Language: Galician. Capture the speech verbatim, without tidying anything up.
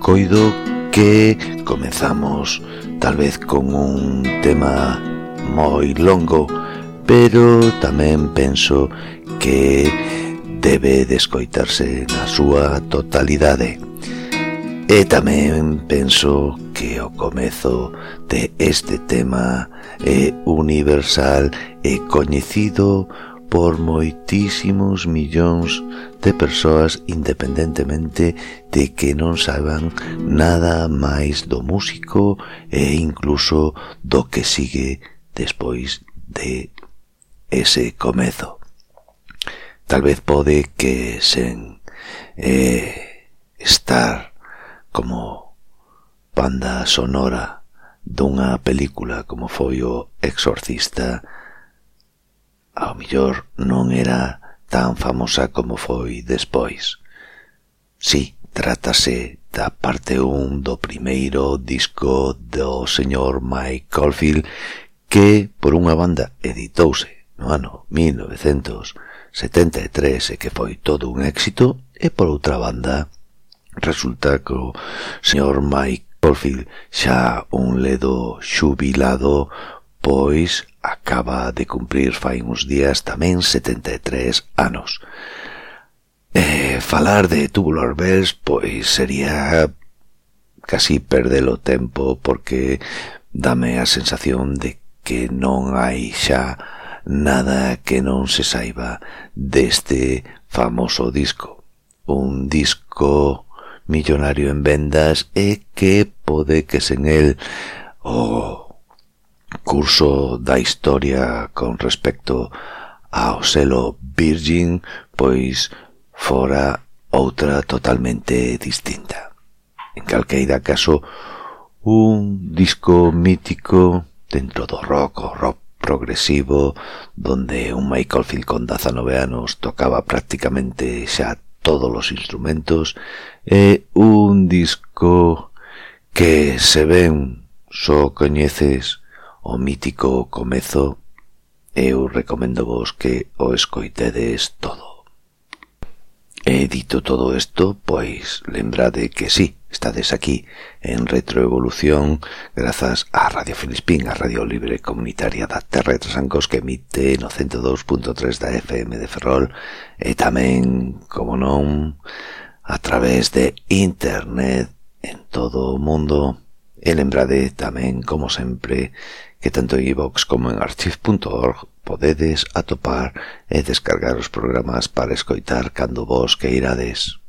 coido que comezamos tal vez con un tema moi longo, pero tamén penso que debe de escoitarse na súa totalidade. E tamén penso que o comezo de este tema é universal e coñecido por moitísimos millóns de persoas, independentemente de que non saiban nada máis do músico e incluso do que sigue despois de ese comezo. Tal vez pode que sen eh, estar como banda sonora dunha película como foi o Exorcista, ao mellor non era tan famosa como foi despois. Si, trátase da parte un do primeiro disco do señor Mike Oldfield, que por unha banda editouse no ano mil novecentos setenta e tres e que foi todo un éxito, e por outra banda resulta que o señor Mike Oldfield, xa un ledo xubilado, pois acaba de cumprir fai uns días tamén setenta e tres anos. E falar de Tubular Bells pois sería casi perder o tempo, porque dame a sensación de que non hai xa nada que non se saiba deste famoso disco. Un disco millonario en vendas e que pode que sen el o curso da historia con respecto ao selo Virgin pois fora outra totalmente distinta. En calqueira caso, un disco mítico dentro do rock o rock progresivo, donde un Mike Oldfield con dezanove anos tocaba prácticamente xa todos os instrumentos, é un disco que, se ben só coñeces o mítico comezo, eu recomendo vos que o escoitedes todo. E dito todo isto, pois lembrade que sí, estades aquí en Retroevolución grazas a Radio Filispín, a Radio Libre Comunitaria da Terra de Trasancos, que emite no cento dous punto tres da F M de Ferrol, e tamén, como non, a través de internet en todo o mundo. E lembrade tamén, como sempre, que tanto en iVox como en archive punto org podedes atopar e descargar os programas para escoitar cando vos queirades.